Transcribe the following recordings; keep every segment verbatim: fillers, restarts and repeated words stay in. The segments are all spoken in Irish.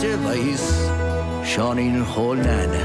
a bheas Seáinín Chóil Neaine.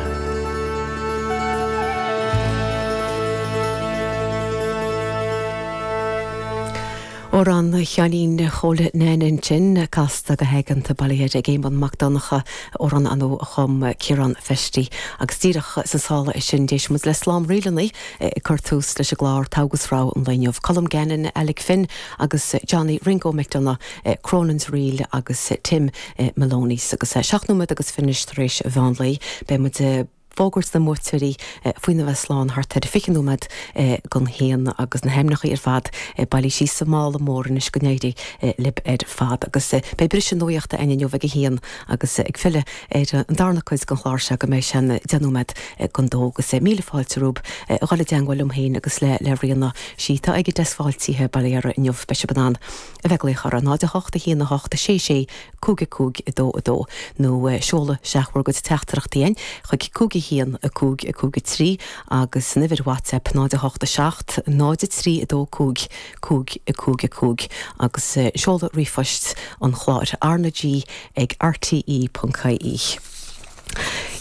Amhrán Sheáinín Chóil Neaine ansin casta go haigeanta bailithe ag Éamonn Mac Donncha amhrán ar ndóigh a chum Ciarán Festy agus díreach sa sála é sin d'éist muid le slám ríleanna ag cur tús leis an gclár Togha 's Rogha an lae inniu. Colm Gannon, Alec Finn agus Johnny Ringo McDonagh, Cronin's Reel agus Tim Maloney's agus seacht nóiméad agus fiche tar éis mheán lae beidh muid fógairt na mbuaiteoirí faoina bheith slán thart ar fiche nóiméad don haon agus na hainmneacha ar fad bailithe síos sa mála mór anois go n-éirí libh ar fad agus beidh briseadh nuachta againn inniu ag a haon agus ag filleadh ar an darna cuid den chlár seo go mbeidh sé an deich nóiméad don dó agus míle fáilte romhaibh a dhul i dteagmháil liom féin agus le le Ríona sí tá ag an deasc fáiltithe Baile Dheara inniu beidh sibh in ann a bheith ag glaoch ar náid a hocht a haon a hocht a sé sé cúig a cúig a dó a dó nó seoladh isteach bhur gcuid teachtaireachtaí againn chuig cúig a haon a cúig a cúig a trí agus an uimhir WhatsApp náid a hocht a seacht náid a trí a dó cúig cúig a cúig a cúig agus seoladh ríomhphoist an chláir RnaG ag RTE.ie.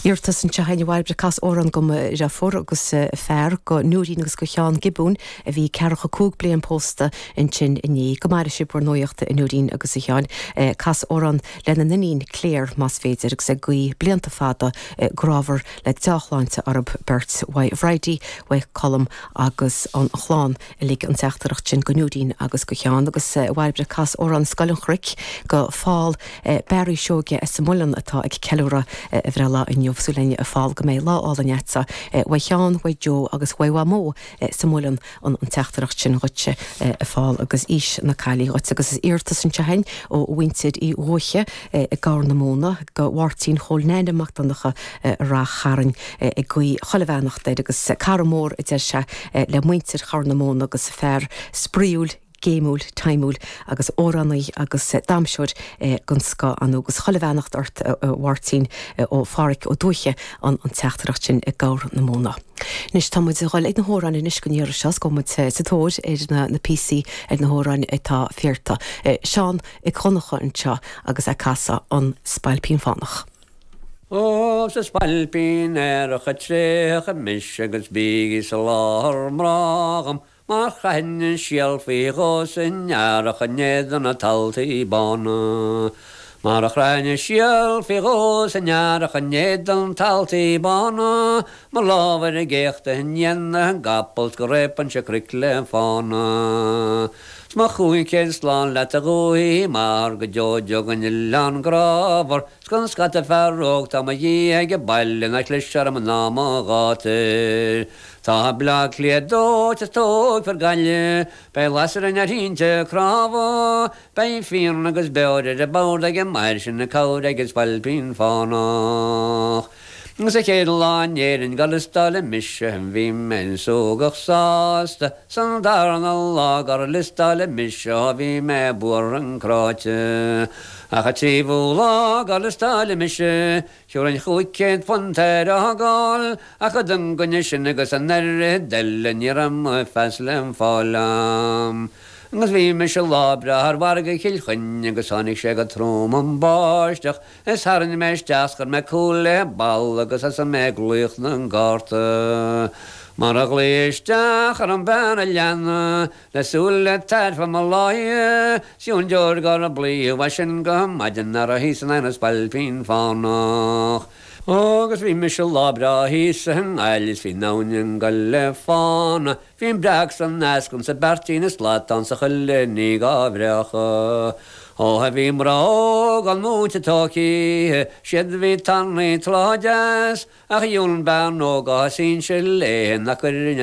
Iarratas anseo a Bhairbre cas amhrán do mo dheirfiúr agus fear go Nóirín agus go Sheán Giobún a bhí ceathracha cúig bliain pósta ansin inné go maire sibh bhur nuaíochta a Nóirín agus a Sheáin cas amhrán lena n-iníon Claire más féidir agus ag guí blianta fada grámhar le dea-shláinte orthu beirt uaidh Bhridie, uaidh Colm agus an chlann uilig an teachtaireacht sin go Nóirín agus go Sheán agus Bhairbre cas amhrán Scoil an Chnoic go Phól Barry Seoige as an Muileann atá ag ceiliúradh a bhreithlá inniu súil againn a Phól go mbeidh lá álainn agatsa uaidh Sheán, uaidh Joe agus uaidh Mhamó sa Muileann an an teachtaireacht sin dhuitse a Phól agus aois na caillí dhuit agus is iarratas anseo againn ó mhuintir Uí Dhúiche i gCorr na Móna go Mháirtín Chóil Neaine Mac Donncha Rath Chairn ag guí chuile bheannacht air agus cara mór a deir sé le muintir Chorr na Móna agus fear spraíúil géimiúil taimiúil agus amhránaí agus damhsóir den scoth ann agus chuile bheannacht ort a Mháirtín ó Pháraic Ó Dúiche an an teachtaireacht sin i gCorr na Móna. Anois tá muid ag dul ag na hamhráin anois don iarraidh seo go muid sa tóir ar na na píosaí ar na hamhráin atá fíorta. Seán Mac Dhonncha anseo agus ag casadh an Spailpín Fánach. Ó 's a spailpín aerach tréach mise agus bígí sa láthair mná dhom, mar chaithfinn an síol faoi dhó san earrach in éadan na taltaí bána. Mar a chrainn an síol faoi dhó san earrach in éadan taltaí bána, mo lámh ar an gcéachta i ndiaidh na gcapall 's go réabfainnse cnoic le fána. 'S mo chúig chéad slán leat a dhúthaigh m'athar go deo deo den oileán grámhar, 's gan scata fear óg tá mo dhiaidh age baile ná clis orm ná mo ghátar. Tá Bleá Cliath dóite 's tógfar Gaillimh, beidh lasair ar thinte cnámha, beidh fíon agus beoir ar an bord ag an maor sin cabhair ag an spailpín fánach. Agus an chéad lá in Éirinn gur liostáileadh mise bhí mé súgach sásta, san darna lá gur liostáileadh mise bhí mé buartha cráite. Ach an tríú lá gur liostáileadh mise, thiúrfainn chúig chéad punt ar a fhágáil, ach an gcoinne sin agus an oiread eile ní raibh mo phas le fáil a'm. Agus bhí mise lá breá ar mhargadh Chill Chainnigh agus tháinig sé go trom an báisteach, is tharraing mé isteach 's chuir mé cúl le balla agus thosaigh mé ag glaoch na gcárta. Mar a ghlaoigh isteach ar an bhean a leanna, le súil le tairfe mo láidhe, 's an deoir gur blaoth as sin go maidin ar a thíos in an spailpín fánach. Agus bhí mise lá breá thíos i nGaillimh 's bhí an abhainn ag gol le fána, Bhí an breac 's an eascann 's an beairtín is slatán 's chuile ní dhá bhreacadh. Ó a bhí mná óg an múinte tóicithe, siad bhí tanaí tláth deas, ach dhiúl bean óg á sínse léi nach cuireann